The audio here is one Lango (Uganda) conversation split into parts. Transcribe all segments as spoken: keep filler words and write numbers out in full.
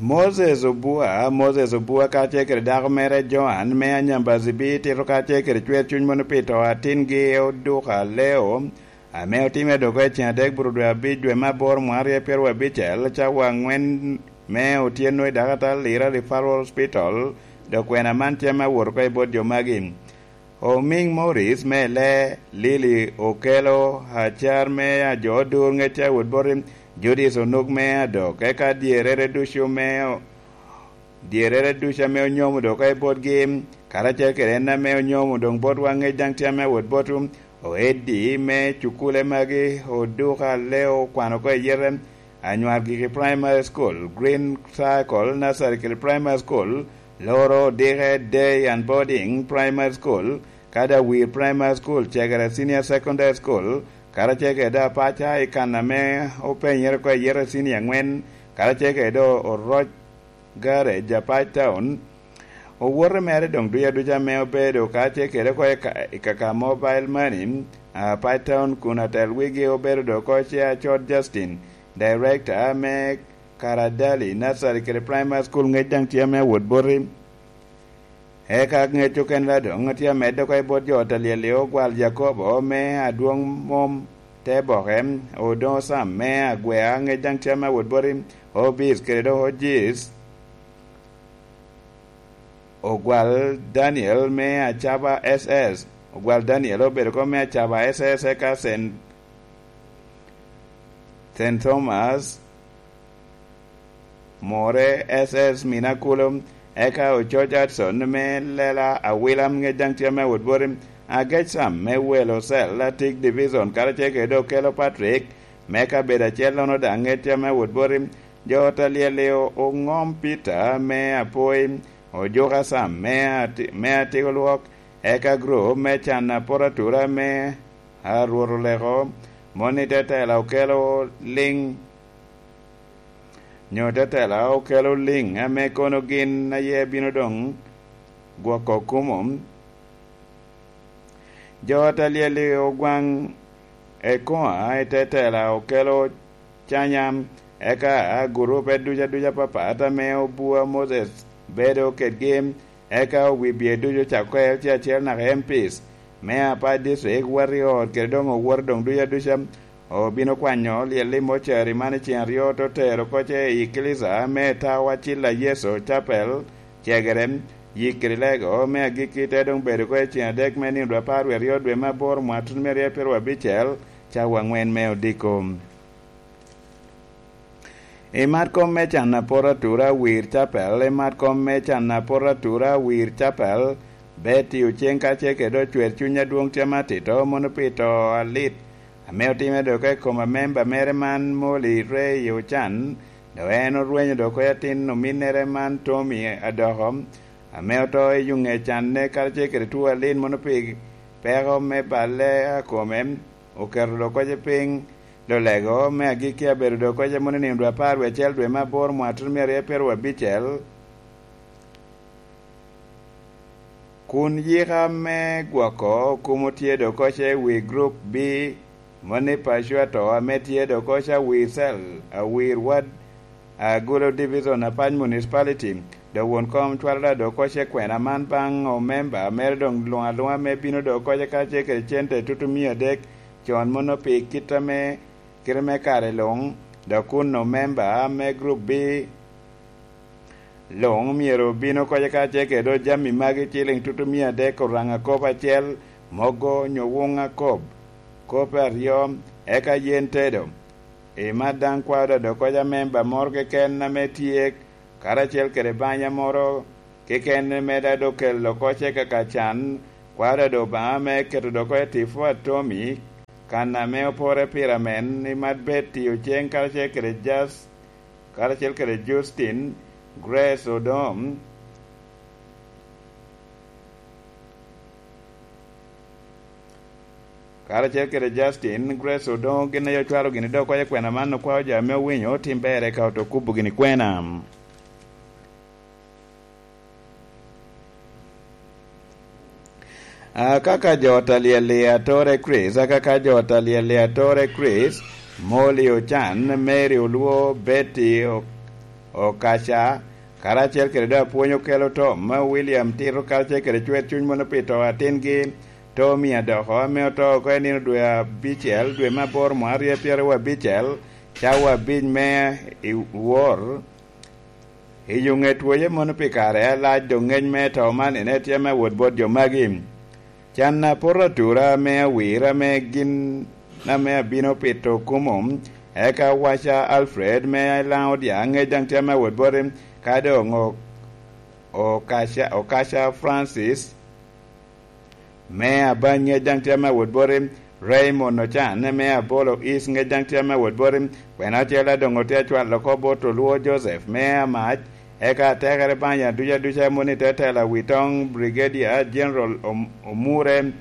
Moses Obua, Moses Obua kacel kede dako mere Joan me Anyambazibi tito kacel kede cwer cuny mono pi to atingi Oduka Leo, ame otimme dok i ceng adek buru dwe abic dwe me aboro mwaka aryo pyero abicel, cawa angwen me otyeno i Dakata Lira Referral Hospital, dok kwena man tye ame awot oko i bot jo magi. Oming Morris me le, Lili Okelo, acar me ajo odur ŋec a wot boti, Judith Onuk me adok, eka dyerere ducu me o-, dyerere ducu ame onyomo dok oko i botgi, karacel kede en ame onyomo doŋ botwa ŋec daŋ tye ame awot botwu, Oeddi me cukule magi, Oduka Leo okwano oko i yete, Anywar Giki Primary School, Green Circle Nursery kede Primary School, Loro Odike Day and Boarding Primary School, kadi Awir Primary School, Cegere Senior Secondary School, karacel kede Apaca i kan ame openyere oko i yete senior angwen, karacel kede Oroc Garage, Apac Town. Owote mere doŋ duc aduca ame obedo kacel kede oko i ka-, i kaka Mobile Money, Apac Town kun atel wigi obedo doŋ oko ce Acot Justin, Director me Karadali Nursery kede Primary School, ŋec daŋ tye ame awot boti. Eka ŋec okene dok tye amedde oko i bot jo ot alyel-li, Ogwal Jakobo me Adwoŋ Mom Teboke, Odoŋo Sam me Agwea, ŋec daŋ tye ame awot boti, Obis kede doŋ Ojis, Ogwal Daniel me Acaba S S, Ogwal Daniel obedo oko me Acaba S S, eka Sen-, Sen Thomas, More S S Minakulo, eka Ococ Hudson me Lela Awila, ŋec daŋ tye ame awot boti, Agec Sam me Welo Cell, Atik Division, karacel kede Okelo Patrick me kabedo acel-lono daŋ ŋec tye ame awot boti, jo ot alyel-li o-, Oŋom Peter me Apoi, Ojuka Sam me Ati-, me Atiko Lwok, eka group me can apot atura me Arwot Oleko, moni tetela Okelo Liŋ, nyo tetela Okelo Liŋ, ame kono gin aye bino doŋ gwoko kumo. Jo ot alyel-li Ogwaŋ Ekoa i tetela Okelo Canya, eka gurupe duc aduc apapat ame Obua Moses bedo kedgi, eka owibie ducu ocako oko i L C acel naka M Ps me Apac District, wot i ot kede doŋ owoto doŋ duc aduca. Obino kwanyo lyel i mocari man i ceng aryo, te tero oko ce i eklisia me Tawa Cilla Yecu Chapel, Cegere, yik kede lego me agikki te doŋ bedo oko i ceng adek me nino dwe apar wie aryo dwe me aboro mwaka tutumia aryo pyeraryo abicel, cawa angwen me odiko. I mat kom me can apot atura wir capel, i mat kom me can apot atura wir capel, Betty Oceng kacel kede ocwer cuny adwoŋ tye matito mono pi to alit ame otimme dok i kom amemba mere man Molly Ray Ocan, dok en orwenyo dok oko atin ominnere man Tommy Adoko, ame oto i yuŋe canne karacel kede two alit mono pi peko me balle a kome, oketo dok oko piny. Lolego me agikki abedo dok oko mono i nino dwe apar wie acel dwe me aboro mwaka tutumia aryo pyeraryo abicel, kun yika me gwoko kumo tye dok oko i wi Group B, moni Pacua to ame tye dok oko i wi cell, Awir Ward, Agulu Division, Apac Municipality. Dok won kom cwalo da dok oko kwena man baŋ omemba mere doŋ luŋ aluŋa me bino dok oko kacel kede cente tutumia adek con mono pi kit ame, kite me kare luŋ, dok kun omemba me Group B luŋ myero obin oko kacel kede jami magi ciliŋ tutumia adek, oraŋa kop acel, mogo nyo wuŋa kop, kop aryo, eka yen tedo. I mat daŋ kwao da dok oko amemba moro keken ame tye karacel kede banya moro keken ame da dok kelo oko ce kaka can, kwao da dok Obaŋa ame keto dok oko i tipo atomi, kan ame opore pire amen, i mat Betty Oceng karacel kede Jas-, karacel kede Justin, Grace Odom, karacel kede Justin, Grace Odongo, gin aye ocwalo gini dok oko kwena man, okwao jo ame owinyo otim ber eka oto kubo gini kwena. Akaka jo ot alyel-li Atore Chris, akaka jo ot alyel-li Atore Chris, Molly Ocan, Mary Olwo, Betty O-, Okaca, karacel kede doŋ apwony okelo to me William Tito karacel kede cwer cuny mono pi to atingi, Tommy Adoko, ame oto oko i nino dwe abicel, dwe me aboro, mwaka aryo pyeraryo abicel, cawa abic me i wor. I yo ŋet woye mono pi kare alac, doŋ ŋec me to man ene tye me wot bot jo magi. Can a poto atura ame awira ame gin ame abino pito kumo, eka waca Alfred me Laŋ Odiaŋ, ŋec daŋ tye me wot boti, ka doŋ o-, Okaca, Okaca Francis me Abany, ŋec daŋ tye me wot boti, Raymond Ocan me Abolo East, ŋec daŋ tye me wot boti, kwena acel a doŋ otye acwalo oko bot Olwo Joseph me Amac, eka atekere banya duca duca moni te tela wi toŋ Brigadier General Om-, Omure,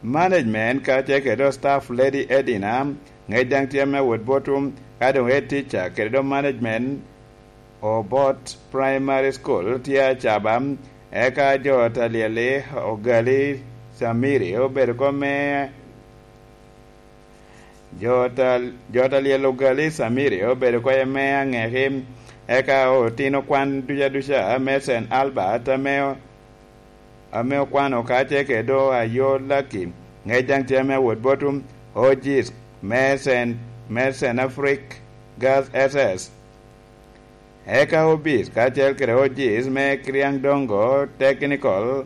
management kacel kede staff Lady Edina, ŋec daŋ tye me wot botwu, ka doŋ head teacher kede doŋ management Obot Primary School tye acaba, eka jo ta lyel-li Ogali Samiri obedo kop me Jo ta, jo ta lyel Ogali Samiri obedo kop me aŋeki, eka otino kwan duca duca me Saint Albert ame, ame okwano kacel kede Ayo Lucky, ŋec daŋ tye me wot botwu, O Gs me Saint, me Saint Afric Girls S S. Eka O Bs kacel kede O Gs me Kiriaŋ Dongo Technical,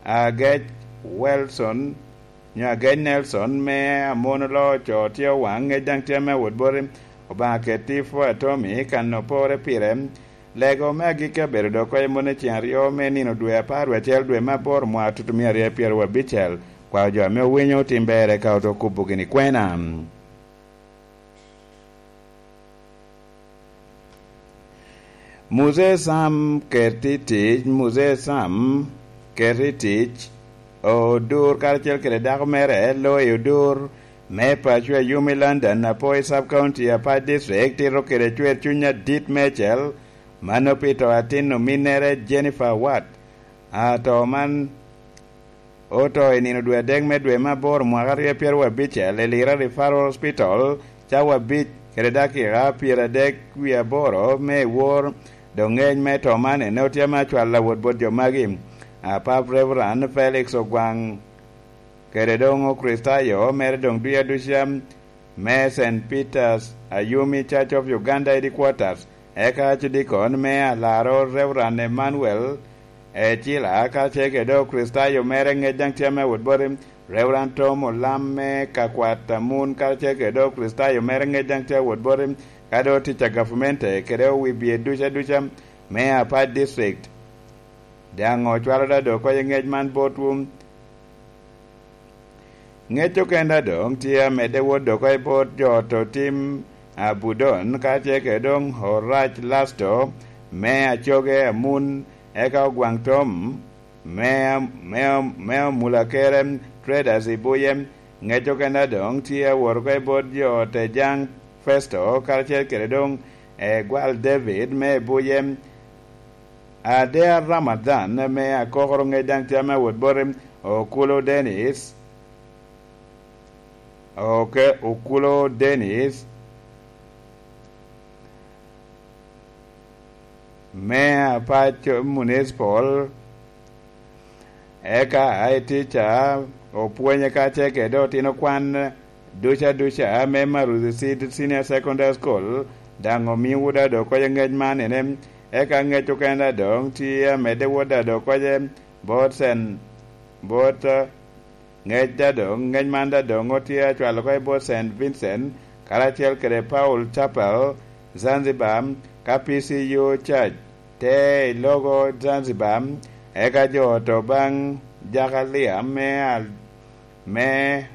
Agec Wilson, nyo Agec Nelson me Amon Oloo Oco tye owaŋ, ŋec daŋ tye me wot boti, Obaŋa ket tipo Atomi kan opore pire. Lego me agikki abedo dok oko i mone ceŋ aryo me nino dwe apar wie acel dwe me aboro mwaka tutumia aryo pyeraryo abicel. Kwao jo ame owinyo otim ber eka oto kubo gini kwena. Muzee Sam ket i tic, Muzee Sam ket i tic, odur karacel kede dako mere, Loy Odur, me paco a yum i London, Apoi Sub County, Apac District, tito kede cwer cuny adit meicel, mano pi to atin ominnere Jennifer Watt. A to man oto i nino dwe adek me dwe me aboro mwaka aryo pyeraryo abicel i Lira Referral Hospital, cawa abic kede dakika pyeradek wie aboro me i wor, doŋ ŋec me to man ene otye ame acwal awot bot jo magi. Apap Reverend Felix Ogwaŋ kede doŋ Okricitayo mere doŋ duya duca me Saint Peter's Ayumi Church of Uganda Headquarters, eka Archdeacon me Alaro Reverend Emmanuel Ecila, kacel kede Okricitayo mere ŋec daŋ tye ame wot boti, Reverend Tom Olam me Kakwat Amun, kacel kede Okricitayo mere ŋec daŋ tye awot boti, ka doŋ tic a gavamente kede owibie duca duca me Apac District. Daŋ ocwalo da doŋ oko i ŋec man botwu. Ŋec okenda doŋ tye amedde wot doko i bot jo oto tim Abudon, kacel kede doŋ Orac Lasto me Acoge Amun, eka Ogwaŋ Tom me, me, me Omulakere Traders i Buye. Ŋec okenda doŋ tye awot oko i bot jo ote Jaŋ Festo, karacel kede doŋ Egwal David me Buye. Adea Ramadhan me Akokoro, ŋec daŋ tye ame awot boti, Okulo Dennis, oke, Okulo Dennis me Apaco Municipal, eka I T ca opwonye kacel kede otino kwan duca duca me Maruthi Seed Senior Secondary School, daŋ omiwu da doŋ oko i ŋec man ene, eka ŋec okene da doŋ tye amedde wot da doŋ oko i bot Sen-, bot, eh, ŋec da doŋ, ŋec man da doŋ otye acwalo oko i bot Saint Vincent, karacel kede Paul Chapel, Zanzibar, ka P C U Church te i logo Zanzibar, eka jo oto baŋ Jakalia me Al-, me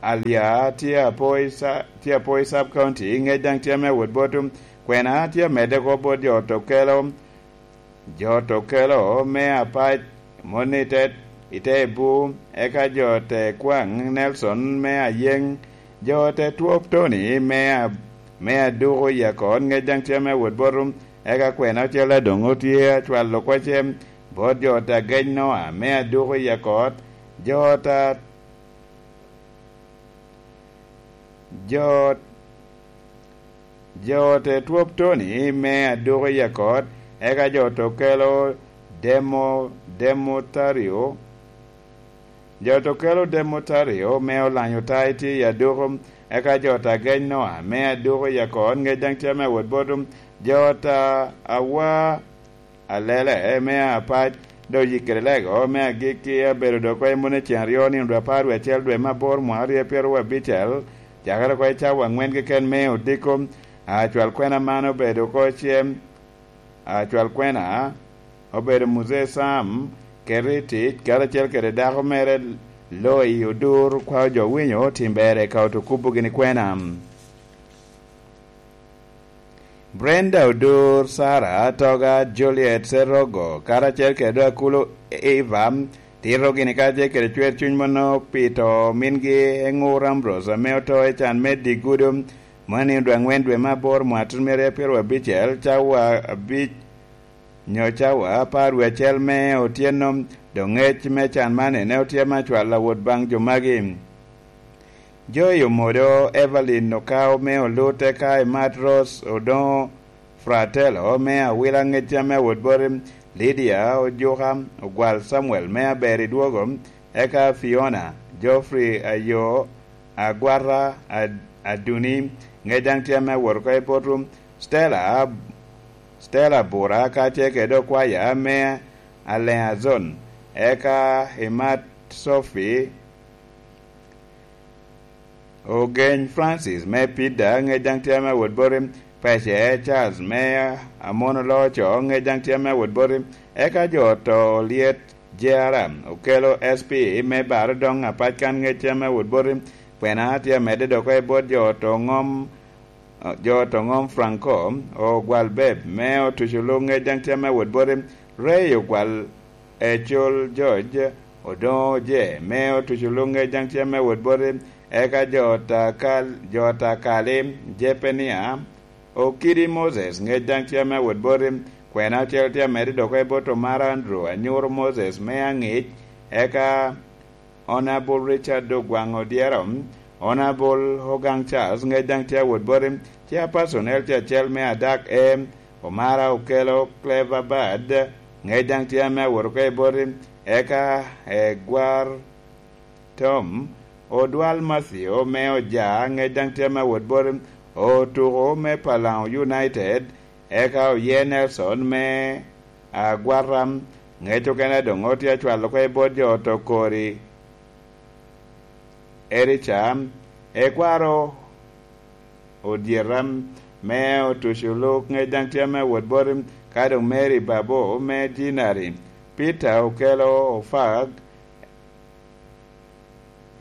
Alia tye apoi sa-, tye apoi Sub County, ŋec daŋ tye ame wot botwu. Kwena tye amedde oko bot jo oto kelo, jo oto kelo me Apac, moni te, i te Ebu, eka jo te kwaŋ Nelson me Ayeŋ, jo te twop Tony me A-, me Aduku i Akon, ŋec daŋ tye ame wot botwu. Eka kwena ocel adoŋ otye acwalo kwace bot jo ote agec Noa me Aduku i Akot, jo ta-, jo, Jo te twop Tony me aduko i akot, eka jo te kelo Demo-, Demotario. Jo te kelo Demotario me olanyo ta i tye i aduko, eka jo te geny Noa me aduko i akot, ŋec daŋ tye ame wot bot jo ta awa alele me apac, dok yikere lego me agikki abedo dok oko i mone ceŋ aryo nino dwe apar wie acel dwe me aboro mwaka aryo pyero abicel, cakere oko i cawa aŋwen keken me odiko, acwal kwena man obedo oko cem, acwal kwena obedo Muzee Sam, keto i tic karacel kede dako mere Loi Odur, kwao jo winyo tim bere ka oto kubo gini kwena. Brenda Odur, Sarah Atoga, Juliet Serogo, karacel kede Akulu Eva, tito gini karacel kede cwer cuny mono pi to mingi Eŋur Ambrose ame oto i can me Digudo, moni odwe aŋwen dwe me aboro mwaka tun mere pyero abicel, cawa abic nyo cawa apar wie acel me otyeno, dok ŋec me can man ene otyema acwal awot baŋ jo magi. Joy Omodo, Evelyn Okao me Olut, eka Imat Rose Odoŋo Fratello me Awila, ŋec ame awot boti Lydia Ojuka, Ogwal Samuel me Aber i Dwogo, eka Fiona, Geoffrey Ayo, Agwata Ad-, Aduni, ŋec daŋ tye ame awot oko i botwu, Stella, Stella Bura, ka tye kede okwaya me Aleazon, eka Imat Sophie, Ogeny Francis me Pida, ŋec daŋ tye ame awot boti, Pece Charles me Amono Loco, ŋec daŋ tye ame awot boti, eka jo to Olyet Jera, Okelo S P me Bar Odoŋ Apac kan, ŋec tye ame awot boti, kwena tye amedde dok oko i bot jo to ŋom, jo to ŋom Franco, Ogwal Beb me Otuco Luk, ŋec daŋ tye ame awot boti, Ray Ogwal Ecol George, Odoŋo Oje me Otuco Luk, ŋec daŋ tye ame awot boti, eka jo ta kal-, jo ta kali, Jepenia, Okidi Moses, ŋec daŋ tye ame awot boti, kwena ocel tye amedde dok oko i bot Omara Andrew, Anyuro Moses me Aŋic, eka Honorable Richard Ogwaŋ Odyero, Honorable Ogaŋ Charles, ŋec daŋ tye awot boti, Chairperson L C acel me Adak E, Omara Okelo Clever Bad, ŋec daŋ tye ame awot oko i boti, eka Egwar Tom, Odwal Matthew me Oja, ŋec daŋ tye ame awot boti, Otuko me Palaŋo United, eka oye Nelson me Agwata, ŋec okene doŋ otye acwalo oko i bot jo oto kori, Erica, Ekwaro Odyeta me Otuco Luk, ŋec daŋ tye ame awot boti, ka doŋ Mary Babo me Jinari, Peter Okelo Ofak,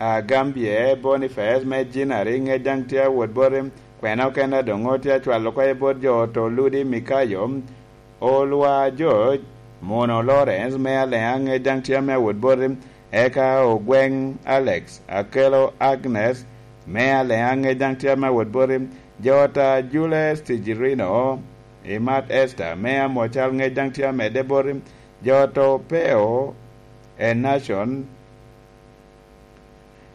Agambye Boniface me Jinari, ŋec daŋ tye awot boti, kwena okene doŋ otye acwalo oko i bot jo oto Ludi Mikayo, Olwa George, Muno Lawrence me Aleŋa, ŋec daŋ tye ame awot boti, eka Ogweŋ Alex, Akelo Agnes me Aleŋa, ŋec daŋ tye ame awot boti, jo ta Jules Tijirino, Imat Esther me Amocal, ŋec daŋ tye amedde boti, jo to Peo, Enashon,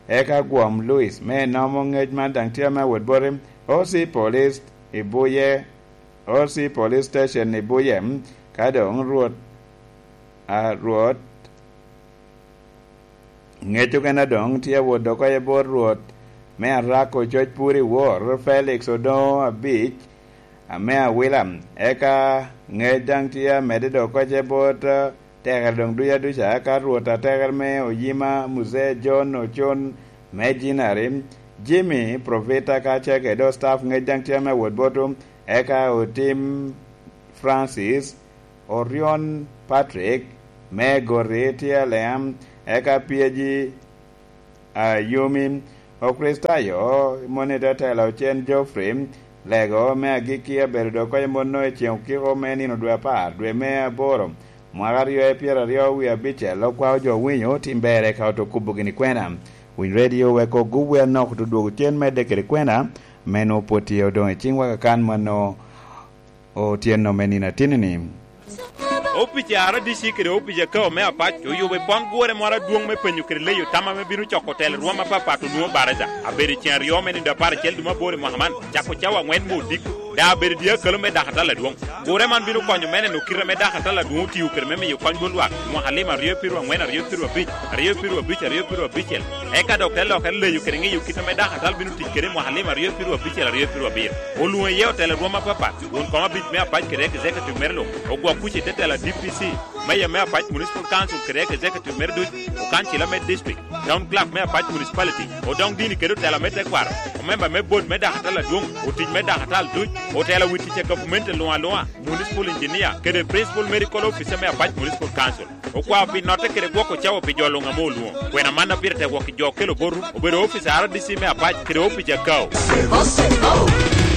eka Gwom Louis me Nomo, ŋec man daŋ tye ame awot boti, O C Police i Buye, O C Police Station i Buye, ka doŋ Rwot, a, Rwot, ŋec okene doŋ tye awot dok oko i bot Rwot me Arako, coc pur i wor, Felix Odoŋo Abic, ame Awila, eka ŋec daŋ tye amedde dok oko i bot, eh, tekere doŋ duca duca, eka Rwot atekere me Oyima, Muzee John Ocon me Jinari, Jimmy Provita ka ce kede staff, ŋec daŋ tye ame awot botwu, eka Otim Francis, Orion Patrick me Goti tye Aleam, eka P G Ayumi, Okricitayo, moni te tela ocen Geoffrey, lego me agikki abedo dok oko i mono i ceŋ okiko me nino dwe apar, dwe me aboro, mwaka aryo i pyeraryo wie abicel, okwao jo winyo tim bere ka oto kubo gini kwena. Winy redio wek ogubwe anok oto dwogo cen medde kede kwena, me nwo pwod tye odoŋ i ciŋwa kakan mano. Otyeno me nino atinni-ni. Opic a R D C kede opic a K O me Apac oyubo i pon gure moro adwoŋ me penyo kede leyo tam ame bino coko telo rwom apapat onwoŋo baraza. Abedo i ceŋ aryo me nino dwe apar acel dwe me aboro i mwaka man, cako cawa aŋwen me odiko. Daŋ abedo dye akalo me dakatal adwoŋ. Gure man bino konyo me neno kite ame dakatal adwoŋ otio kede me miyo kony bot lwak i mwaka lim aryo piru aŋwen, aryo piru abic, aryo piru abic, aryo piru abicel. Eka dok te lokere leyo kede ŋeyo kit ame dakatal bino tic kede i mwaka lim aryo piru abicel, aryo piru abiro. Olwoŋo iye otela rwom apapat, won kom abic me apac kede executive mere luŋ, ogwok kuc i te tela D P C, meya me apac municipal council kede executive mere duc, okancila me district, town clerk me apac municipality, odoŋ dini kede otela me tekwaro, omemba me bot me dakatal adwoŋ, otic me dakatal duc, otela wi tic a gavumenti luŋ aluŋa, municipal engineer, kede principal medical officer me apac municipal council. Okwao pi notte kede gwoko cawa pi jo luŋ ame olwoŋo. Kwena man a pire tek wok i jo okelo boto, obedo ofice a R D C me apac kede opic a K A U.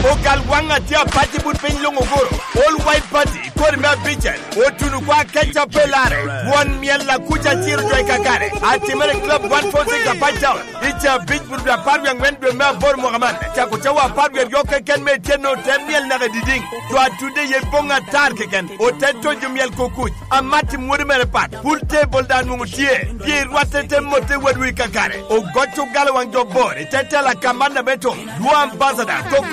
Ogal waŋ a tye apac i but piny luŋ oguro. All White Party, kodi me abicel, otuno kwa keca pe lare. Won myel a kuc a ciro jo i kakare. Atimere i Club one four six Apac Town. I ca abic but apar wie aŋwen dwe me aboro mwaka man. Cako cawa apar wie aryo keken me ityeno te myel naka i didiŋ. Jo a tudde iye boŋ atar keken. Ote tojo myel ko kuc. Amat i mwodi mere pat, pul tebol daŋ nwoŋo tye, pien rwatte te motte wadwu i kakare. Ogoc ogalo waŋ jo bor i te tela kamanna me to, dwo ambasada, koko